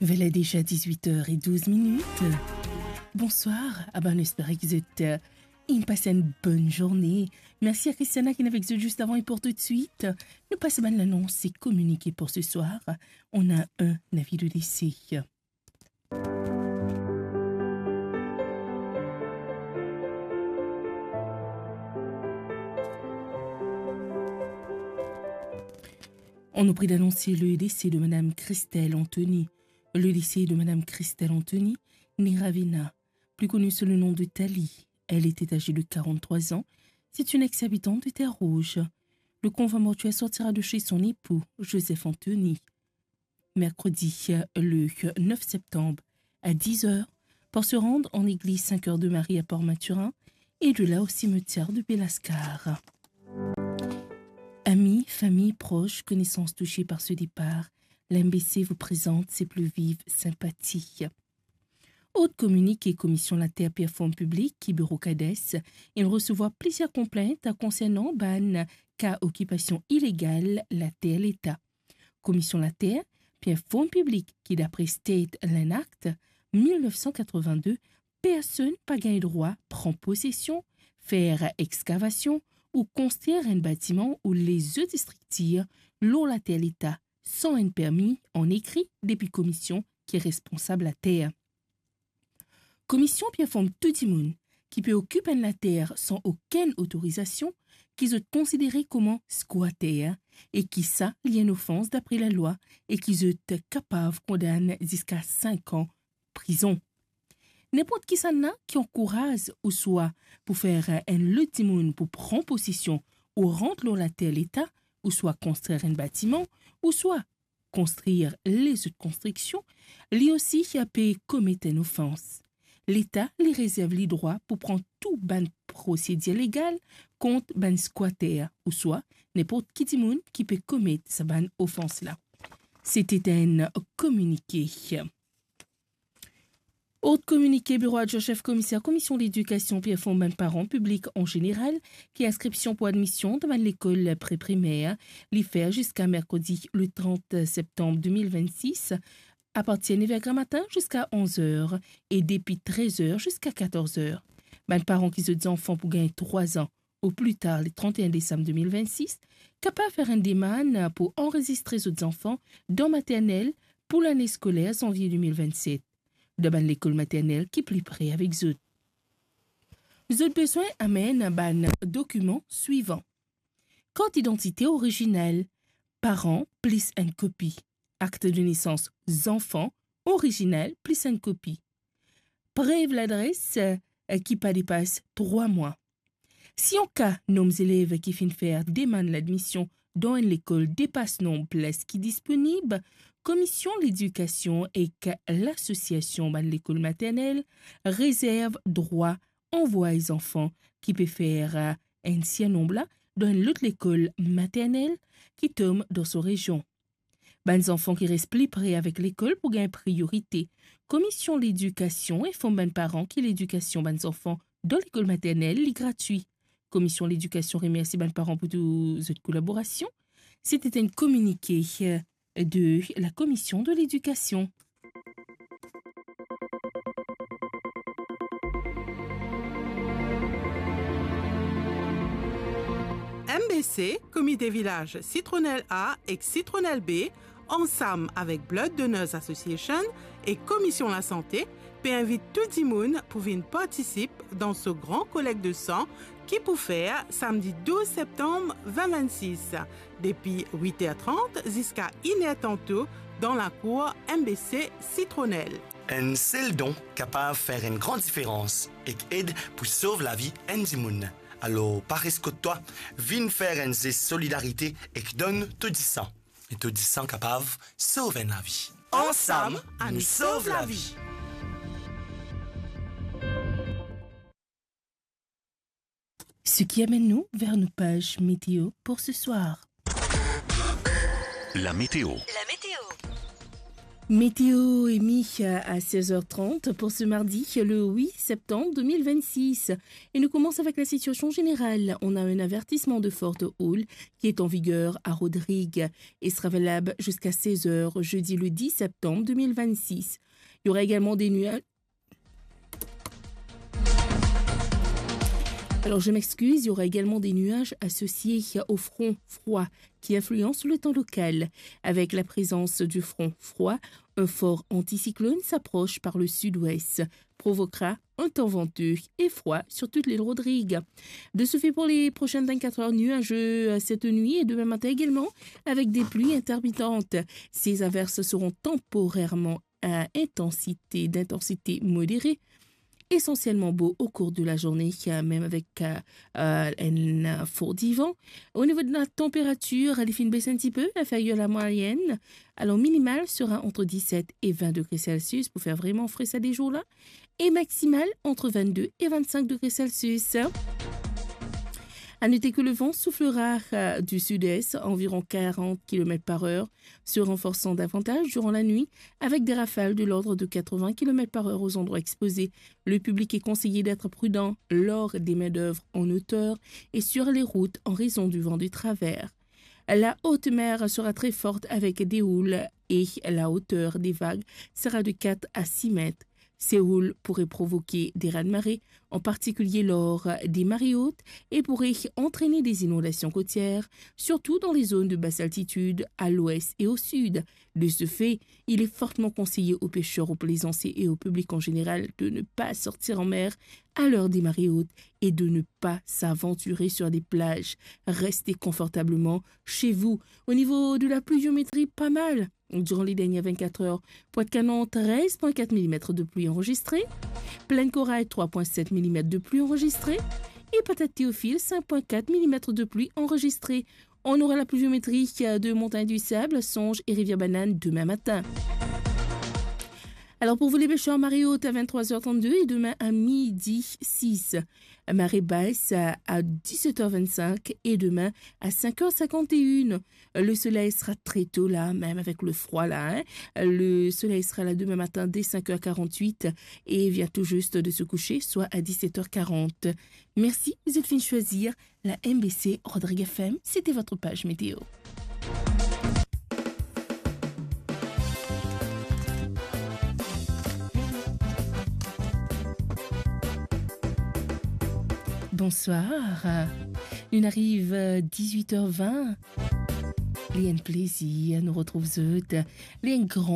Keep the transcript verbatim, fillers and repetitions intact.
Vela deza dizwit er e douz minit. Bonswar, a bann, nou espere ki zot, eh, inn pas enn bonn zourne. Mersi a Christiana ki inn avek zot zis avan e pou toutswit, nou pas bann lanons e kominike pou se swar. On a un avis de décès. On nous prie d'annoncer le décès de Madame Christelle Anthony. Le décès de Madame Christelle Anthony, née Ravena, plus connue sous le nom de Tali. Elle était âgée de quarante-trois ans. C'est une ex-habitante de Terre Rouge. Le convoi mortuaire sortira de chez son époux, Joseph Anthony, mercredi, le neuf septembre, à dix heures, pour se rendre en église Saint-Cœur de Marie à Port-Mathurin et de là au cimetière de Belascar. Amis, famille, proches, connaissances touchées par ce départ, l'M B C vous présente ses plus vives sympathies. Ot kominike, Komision Later pe inform piblik ki biro Cades inn resevwar plizier konplint konsernan bann ka okipasion ilegal later Leta. Komision Later pe inform piblik ki dapre State Land Act mil nef san katrovin-de, personn pa gagn drwa pran posesion, fer exkavasion ou konstrir enn batiman ou lezot striktir lor later Leta san enn permi an ekri depi komision ki responsab later. Komision pe inform tou dimoun ki pe okip enn later san okenn otorizasion ki zot konsidere kouma skwater e ki sa li enn ofans dapre lalwa e ki zot kapav kondann ziska sink an prizon. Ninport kisannla ki ankouraz ouswa pou fer enn lot dimoun pou pran posesion ou rant lor later Leta, ouswa konstrir enn batiman, ouswa konstrir lezot konstriksion, li osi pe komet enn ofans. Leta, li rezerv li drwa pou pran tou bann prosedir legal kont bann skwater ouswa ninport ki dimoun ki pe komet sa bann ofans la. Sete enn kominike. Ot kominike, Biro Adjwin Sef Komiser Komision Ledikasion pe inform bann paran, piblik an zeneral, ki inskripsion pou admision dan bann lekol pre-primer li fer ziska merkredi le trant septanm de mil vennsis, apartir nev er gramatin ziska onz er e depi trez er ziska katorz er. Bann paran ki zot zanfan pou gagn trwa an ou pli tar le trant e enn desam de mil vennsis, kapav fer enn demann pou anrezistre zot zanfan dan maternel pou lane skoler zanvie de mil vennset, dan bann lekol maternel ki pli pre avek zot. Zot bizin amenn bann dokiman swivan: kart idantite orizinal paran plis enn kopi, akt de nesans zanfan orizinal plis enn kopi, prev ladres, eh, ki pa depas trwa mwa. Si an ka nom zelev ki finn fer demann ladmision dan enn lekol depas nom plas ki disponib, Komision Ledikasion ek Lasosiasion bann lekol maternel rezerv drwa anvway zanfan ki pe fer, eh, enn sirnonb la dan enn lot lekol maternel ki tom dan so rezion. Bann zanfan ki res pli pre avek lekol pou gagn priyorite. Komision Ledikasion inform bann paran ki ledikasion bann zanfan dan lekol maternel li gratwi. Komision Ledikasion remersi bann paran pou tou zot kolaborasion. Sete enn kominike, eh, de la Commission de l'Éducation. M B C, Komite Vilaz Sitronel A ek Sitronel B, ansam avek Blood Donors Association ek Komision Lasante, pe invit tou dimoun pou vinn partisip dan so gran kolekt de san ki pou fer samdi douz septanm vin vennsis, depi wit er trant ziska inn er tanto dan lakour M B C Sitronel. Enn sel don kapav fer enn gran diferans ek ed pou sov lavi enn dimoun. Alor, pa res kot twa, vinn fer enn zes solidarite ek donn to disan. E to disan kapav sov enn lavi. Ansam, nou sov lavi. Ce qui amène nous vers notre page météo pour ce soir. La météo. La météo. Météo émis à seize heures trente pour ce mardi, le huit septembre deux mille vingt-six. Et nous commençons avec la situation générale. On a un avertissement de forte houle qui est en vigueur à Rodrigues et sera valable jusqu'à seize heures, jeudi le dix septembre deux mille vingt-six. Il y aura également des nuages. Alors, je m'excuse, il y aura également des nuages associés au front froid qui influence le temps local. Avec la présence du front froid, un fort anticyclone s'approche par le sud-ouest, provoquera un temps venteux et froid sur toute l'île Rodrigues. De ce fait, pour les prochaines vingt-quatre heures, nuageux, euh, cette nuit et demain matin également, avec des pluies intermittentes. Ces averses seront temporairement à intensité, d'intensité modérée, essentiellement beau au cours de la journée, euh, même avec, euh, euh, un, euh, fort divan. Au niveau de la température, elle est baiss un petit peu, inférieure à la moyenne. Alors, minimale sera entre dix-sept et vingt degrés Celsius pour faire vraiment frais à des jours-là, et maximale entre vingt-deux et vingt-cinq degrés Celsius. À noter que le vent soufflera, euh, du sud-est, environ quarante kilomètres par heure, se renforçant davantage durant la nuit, avec des rafales de l'ordre de quatre-vingts kilomètres par heure aux endroits exposés. Le public est conseillé d'être prudent lors des main-d'œuvre en hauteur et sur les routes en raison du vent de travers. La haute mer sera très forte avec des houles et la hauteur des vagues sera de quatre à six mètres. Ces houles pourraient provoquer des raz-de-marée, en particulier lors des marées hautes, et pourraient entraîner des inondations côtières, surtout dans les zones de basse altitude, à l'ouest et au sud. De ce fait, il est fortement conseillé aux pêcheurs, aux plaisanciers et au public en général de ne pas sortir en mer à l'heure des marées hautes et de ne pas s'aventurer sur des plages. Restez confortablement chez vous. Au niveau de la pluviométrie, pas mal. Durant les dernières vingt-quatre heures, Pointe-Canon, treize point quatre millimètres de pluie enregistrée. Plaine Corail, trois point sept millimètres de pluie enregistrée. Et Patate Théophile, cinq point quatre millimètres de pluie enregistrée. On aura la pluviométrie de Montagne du Sable, Songe et Rivière Banane demain matin. Alors pour vous les pêcheurs, marée haute à vingt-trois heures trente-deux et demain à midi six. Marée basse à, à dix-sept heures vingt-cinq et demain à cinq heures cinquante et une. Le soleil sera très tôt là, même avec le froid là, hein. Le soleil sera là demain matin dès cinq heures quarante-huit et vient tout juste de se coucher, soit à dix-sept heures quarante. Merci, vous êtes fine choisir la M B C Rodrigues F M, c'était votre page météo. Bonsoir. Nou ariv, euh, dix-huit heures vingt. Li enn plezir nou retrouv zot. Li enn gran